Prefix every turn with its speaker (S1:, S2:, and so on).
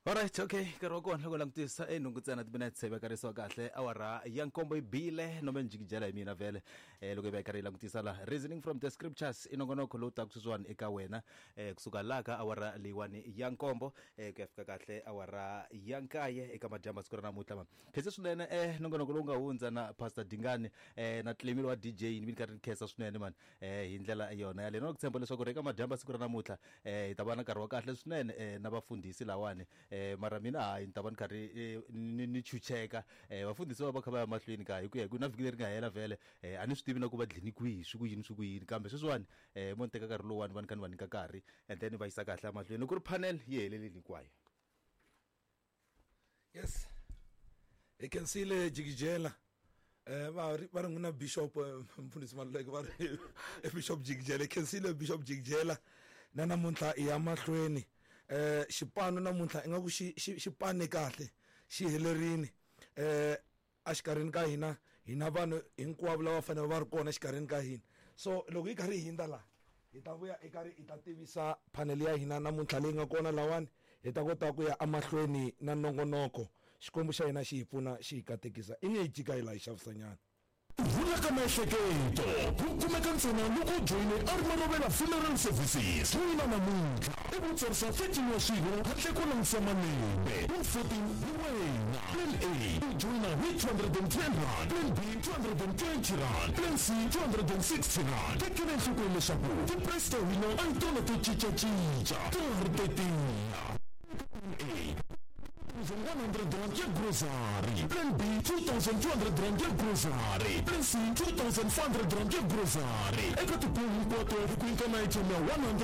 S1: Alright, okay, nkarhi wa kona loko langutisa e nhungu ntsena timinetse yi vekarisiwa kahle awara ya nkombo yi bile nome ni jikijela hi mina vhele eh, loko yi va yi karhi yi langutisa la reasoning from the scriptures i nongonoko lowu taka sweswiwani eka wena eh, kusuka laha ka awara leyiwani ya nkombo eh, ku ya fika kahle awara ya nkaye eka madyambu siku ra namuntlha ma khense swinene eh, nongonoko lowu nga hundza na pastor Dingani eh, na Clemile wa DJ ni mi ni karhi ni khensa swinene mani eh, hi ndlela yona yaleyo na ku tshemba leswaku ri eka madyambu siku ra namuntlha eh, hi ta va na nkarhi wa kahle swinene eh, na vafundhisi lawani eh, mara mina hayi ni ta va ni karhi eh, ni, ni chucheka eh, vafundhisi va va kha va ya mahlweni ka hi ku ya hi ku na vhiki leri nga hela vhele eh, a ni swi tivi na ku va dlini kwihi swi ku yini swi ku yini kambe sweswiwani eh, mo ni teka nkarhi lowuwani va ni kha ni va nyika nkarhi and then va yisa kahle emahlweni loko ku ri panel yi helelile hinkwayo.
S2: Yes, hi khensile Jikijela. Va ri va ri n'wina Bishop mfundhisi Maluleke va ri Bishop Jikijela. Hi khensile Bishop Jikijela na namuntlha hi ya mahlweni. Xipano namuntlha ingaku xi xi xi pane kahle xi helerile. Exikarhini ka hina hi na vanhu hinkwavo lava fanele va ri kona exikarhini ka hina. So loko hi karhi hi hundza laha hi ta vuya hi karhi hi ta tivisa panel ya hina namuntlha leyi nga kona lahawani hi ta kota ku ya emahlweni na nongonoko. Xikwembu xa hina xi hi pfuna xi hi katekisa. I nge hi jika hi laha hi xavisanyana.
S3: Ku rhula ka miehleketo ku kumeka ntsena loko u joyine Arma Rovela Funeral Services. Joyina namuntlha ivi u tsarisa 13 wa swirho handle ko langutisa malembe. Wu 14 hi wena. Plan A, u joyina hi R210, Plan B, R220, Plan C, R260. Tekela enhlokweni leswaku ti-price ta hina a hi tona to cinca-cinca, ta ha ri to tiya. Plan A, R1,100 ya grocery, Plan B, R2,200 ya grocery, Plan C, R2,500 ya grocery. Eka tibill hinkwato hi ku nyika na airtime ya R100.